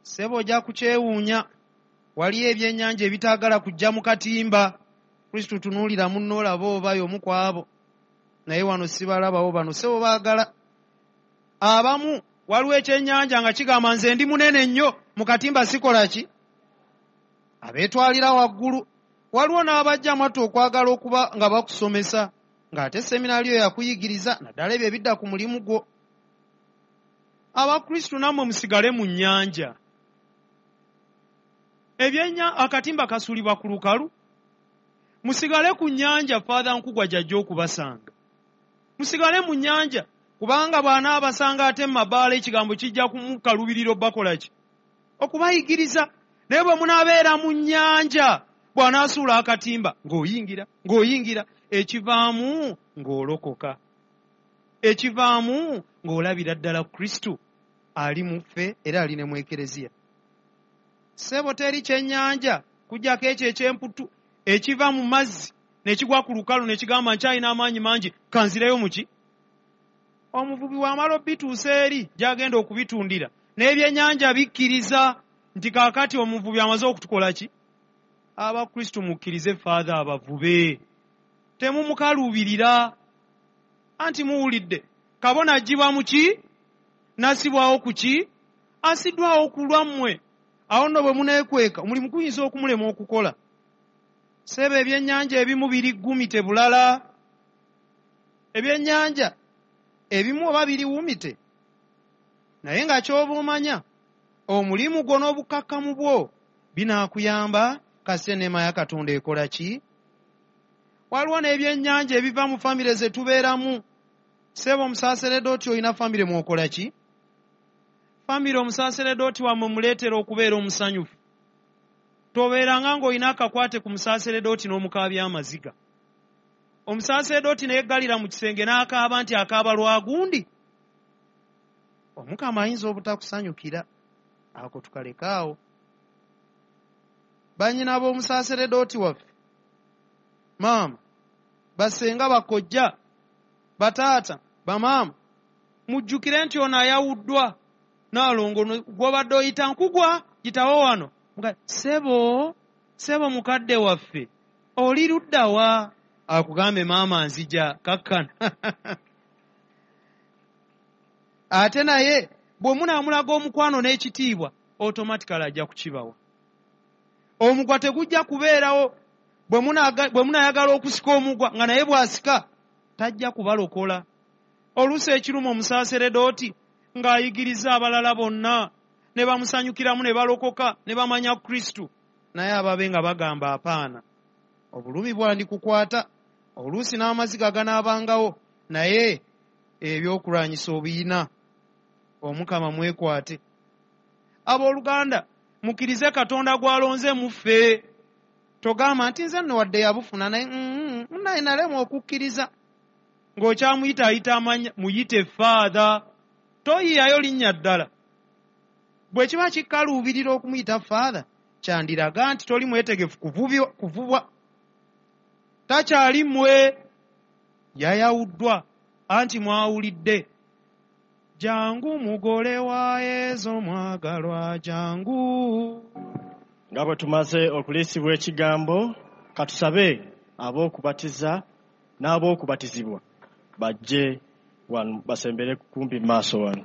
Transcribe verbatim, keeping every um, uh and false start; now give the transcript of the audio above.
Ssebo ojja kukyewuunya, waliyo ebyennyanja ebitaagala kujja mu katimba. Kristo tunuulira munno olaba oba y'omu ku abo. Naye wano sibalabawo bano, ssebo baagala. Abamu waliwo ekyennyanja nga kigamba nze ndi munene nnyo, mu katimba sikola ki? Abeetwalira waggulu. Waliwo n'abajja mwattu okwagala okuba nga bakusomesa, ng'ate seminaaliyo yakuyigiriza, naddala ebyo ebidda ku mulimu gwo. Abakristu nammwe musigale mu nnyanja. Ebyenya akatimba kasuulibwa ku lukalu. Musigale ku nnyanja, Father Nkugwa gy'ajja okubasanga. Musigale mu nnyanja, kubanga bw'anaabasanga ate mu mabaala ekigambo kijja kumukalubirira obbakola ki? Okubayigiriza. Naye bwe munaabeera mu nnyanja, bw'anaasuula akatimba, ng'oyingira, ng'oyingira, ekivaamu ng'olokoka. Ekivaamu ng'olabira ddala Kristo ali mu ffe era ali ne mu Ekereziya. Ssebo teri kyennyanja kuggyako ekyo eky'emputu ekiva mu mazzi ne kigwa ku lukalu ne kigamba nkyalina amaanyi mangi, kanzireyo mu ki? Omuvubi bw'amala obituusa eri gy'agenda okubitundira, n'ebyennyanja bikkiriza nti kaakati omuvubi amaze okutukola ki? Abakristu mukkirize Father abavube. Temumukaluubirira. Anti muwulidde, kabona aggyibwa mu ki? N'assibwawo ku ki? Assiddwawo ku lwammwe. Awo nno bwe muneekweka, omulimu guyinza okumulema okukola. Ssebo ebyennyanja ebimu biri ggumite bulala. Ebyennyanja ebimu oba biri wumite. Naye nga ky'oba omanya, omulimu gwo n'obukakkamu bwo binaakuyamba kasita enneema ya Katonda ekola ki? Waliwo n'ebyennyanja ebiva mu famire ze tubeeramu. Ssebo omusaaseredooti olina famire mw'okola ki? Famire omusaaseredooti wammwe muleetera okubeera omusanyufu. Tobeeranga ng'olina akakwate ku musaaseredooti n'omukaabya amaziga. Omusaaseredooti ne yeggalira mu kisenge n'akaaba nti akaaba lwa gundi. Omukama ayinza obutakusanyukira. Ako tukaleke awo. Bannyina b'omusaaseredooti waffe, maama, basenga, bakojja, bataata, bamaama, mujjukire nti ono ayawuddwa Naalongo gw'obadde oyita Nkugwa gitawo wano. Ssebo, ssebo mukadde waffe, oli ludda wa? Akugambe maama nzija, kakkana. Ate naye bwe munaamulaga omukwano n'ekitiibwa, automatically ajja kukibawa. Omugwa tegujja kubeerawo. Bwe munaayagala okusika omugwa nga naye bw'asika, tajja kubalokola. Oluusi ekiruma omusaaseredooti ng'ayigiriza abalala bonna ne bamusanyukiramu ne balokoka ne bamanya Kristo, naye ababe nga bagamba apaana. Obulumi bwandikukwata, oluusi n'amaziga ganaabangawo, naye ebyokulwanyisa obiyina. Omukama mwekwate. Abooluganda, mukkirize Katonda gw'alonze mu ffe. Togamba nti nze nno wadde yabufuna, naye naye nalema okukkiriza. Ng'okyamuyita ayita amanya, muyite Father. Toyiyayo linnya ddala. Bwe kiba kikaluubirira okumuyita Father, kyandiraga nti toli mwetegefu kuvubwa. Takyali mmwe, yayawuddwa, anti mwawulidde. Jangu mugole wa Yezu mwagalwa, jangu. Nga bwe tumaze okuliisibwa ekigambo, katusabe ab'okubatiza n'ab'okubatizibwa bajje wano basembere kumpi mu maaso wano.